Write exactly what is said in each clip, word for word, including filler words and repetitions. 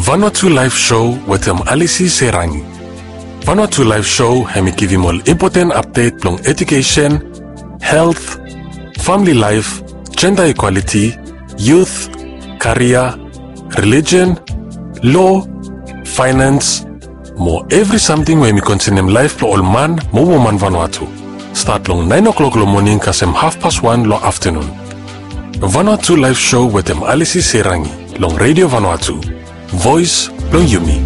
Vanuatu Live Show wetem Alisi Serangi. Vanuatu Live Show hemi givim ol impoten apdet blong edukesen, helt, famili laef, jenda ikwaliti, yut, karia, relijen, lo, faenans, mo evri samting we hemi konsenem laef blong ol man mo woman Vanuatu. Stat long naen o'klok long moning kasem hafpas wan long aftanun. Vanuatu Live Show wetem Alisi Serangi long Redio Vanuatu, voes blong yumi.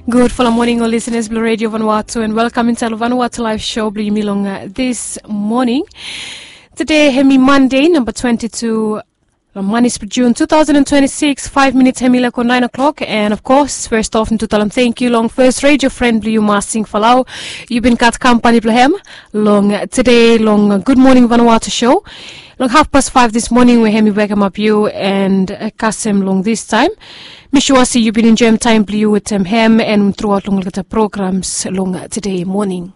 Gudfala moning ol lisenas blong Redio Vanuatu, and welkam insaed long Vanuatu Live Show blong yumi long dis moning. Tede hemi Mande namba twenti tu long manis blong Jun tu taosen an twenti sikis. Faef minits hemi laek go naen o'klok, and of kos fes of mi tu talem tangkiu long fes redio fren blong yu, Masing Falau. Yu bin gat kampani blong hem long tede long Gud Moning Vanuatu Show long hafpas faef dis moning, we hemi wekemap yu and kasem long dis taem. Mi sua se yu bin enjoem taem blong yu wetem hem and truaot long olgeta programs long tede moning.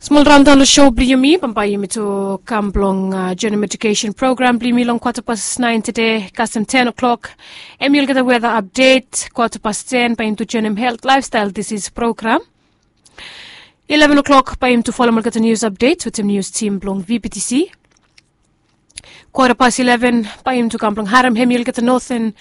Smol raondaon long show blong yumi, bambae yumi tu kam blong joenem edukesen program blong yumi long kwata pas naen tede kasem ten o'klok. Hemi olgeta weta apdet. Kwata pas ten bae yumi tu joenem helt, laefstael, disis program. Ileven o'klok bae yumi tu folem olgeta nius apdet wetem nius tim blong VBTC. Kwata pas ileven bae yumi tu kam blong harem hemi olgeta noten